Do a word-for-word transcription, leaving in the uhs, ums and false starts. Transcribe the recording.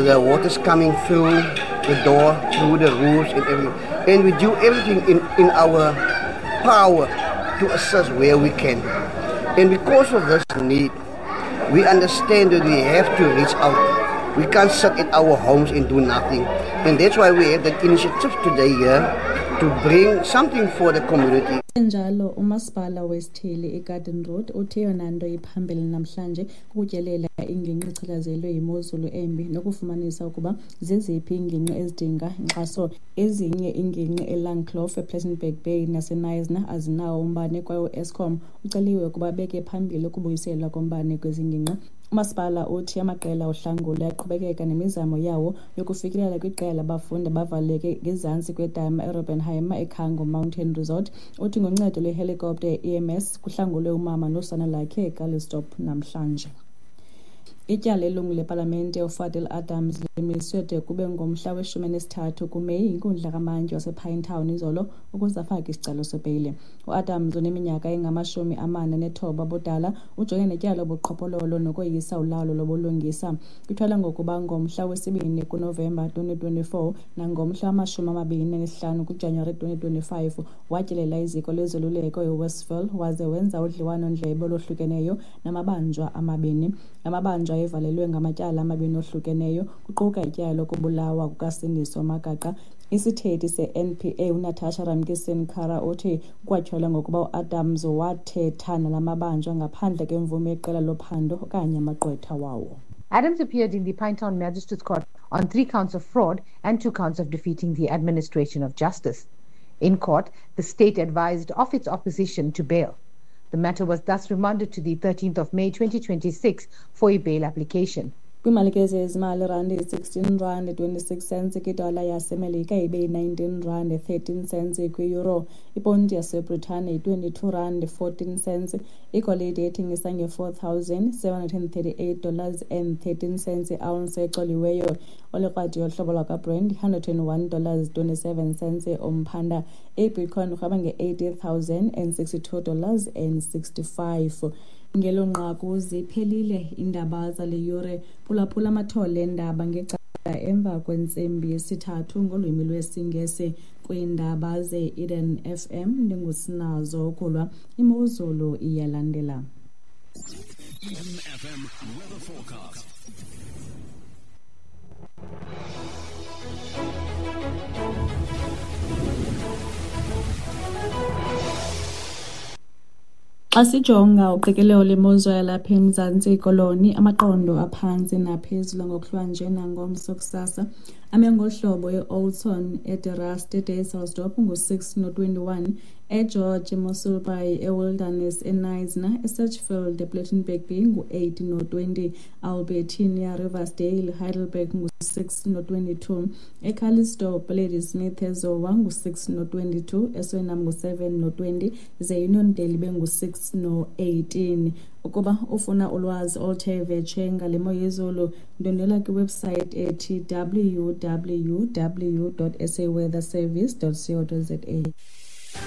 The water's coming through the door, through the roofs and everything. And we do everything in, in our power to assist where we can. And because of this need, we understand that we have to reach out. We can't sit at our homes and do nothing. And that's why we have that initiative today here to bring something for the community. Njalo umasipala wesithili iGarden Road uthe eyona nto iphambili namhlanje kukutyelela ingingqi echatshazelwe yimozulu embi nokufumanisa ukuba zeziphi iingingqi ezidinga inkxaso. Ezinye iingingqi eLangkloof, ePlettenberg Bay naseKnysna azinawo umbane kwaye uEskom uceliwe ukuba abeke phambili ukubuyiselwa kombane kwezi ngingqi. Umasipala uthi amaqela ohlangulo ayaqhubekeka nemizamo yawo yokufikelela kwiqela labafundi abavaleleke ngezantsi kwedama eRobbenheim eCango Mountain Resort. Uthi ngoncedo lwehelikopta ye-E M S kuhlangulwe umama nosana lwakhe eCalitzdorp namhlanje. Ityala lelungu lepalamente uFadil Adams limiswe de kube ngomhla weshumi elinesithathu kuMeyi yinkundla kamantyi wasePinetown izolo ukuze afake isicelo sebheyile. UAdams oneminyaka engamashumi amane anethoba ubudala ujongene netyala lobuqhophololo nokoyisa ulawulo lobulungisa. Kutyholwa ngokuba ngomhla wesibini kuNovemba twenty twenty-four nangomhla wamashumi amabini anesihlanu kuJanuwari twenty twenty-five watyelela iziko lezoluleko eWestville waze wenza udliwano-ndlebe olohlukeneyo namabanjwa amabini. Amabanjwa ayevalelwe ngamatyala amabini ohlukeneyo, kuquka ityala lokubulawa kukaSindiso Magaqa. Isithethi se-N P A uNatasha Ramkisson-Kara uthi kukwatyholwa ngokuba uAdams wathetha nala mabanjwa ngaphandle kwemvume yeqela lophando okanye amagqwetha wawo. Adams appeared in the Pinetown Magistrates Court on three counts of fraud and two counts of defeating the administration of justice. In court, the state advised of its opposition to bail. The matter was thus remanded to the thirteenth of May twenty twenty-six for a bail application. Kwiimalike zezimali, irandi yi-sixteen rand twenty-six cents kwidola yaseMelika, ibe yi-nineteen rand thirteen cents kwi-euro. Iponti yaseBritane yi-twenty-two rand fourteen cents. Igolide ethengisa nge-four thousand seven hundred thirty-eight dollars and thirteen cents i-ounce ecoliweyo. Olikrwadi yohlobo lwakwaBrent yi-hundred and one dollars twenty-seven cents umphanda. IBitcoin irhweba nge-eighty thousand and sixty-two dollars and sixty-five. Ngelo nqaku ziphelile iindaba zale yure. Phulaphula amathole eendaba ngecala emva kwentsimbi yesithathu ngolwimi lwesiNgesi kwiindaba ze-Eden F M. NdinguSinazo Ukulwa. Imozulu iyalandela. Eden F M weather forecast. Xa sijonga uqikelelo lemozulu yalapha eMzantsi Koloni, amaqondo aphantsi naphezulu ngokuhlwanje nangomso kusasa ame ngolu hlobo: eOudtshoorn, eDe Rust, eDysselsdorp ngu-six no-twenty-one, eGeorge, eMossel Bay, eWilderness, eKnysna, eSedgefield, ePlettenberg Bay ngu-eight no-twenty, Albertinia, Riversdale, Heidelberg ngu-six no-twenty-two, eCalitzdorp, Ladysmith, eZowa ngu-six no-twenty-two, eSuriname ngu-seven no-twenty, ze Uniondale ibe ngu-six no-eighteen. Ukuba ufuna ulwazi oluthe vetshe ngale mo yezulu, ndwendwela kwiwebhusayithi ethi W W W dot saweatherservice dot co dot za.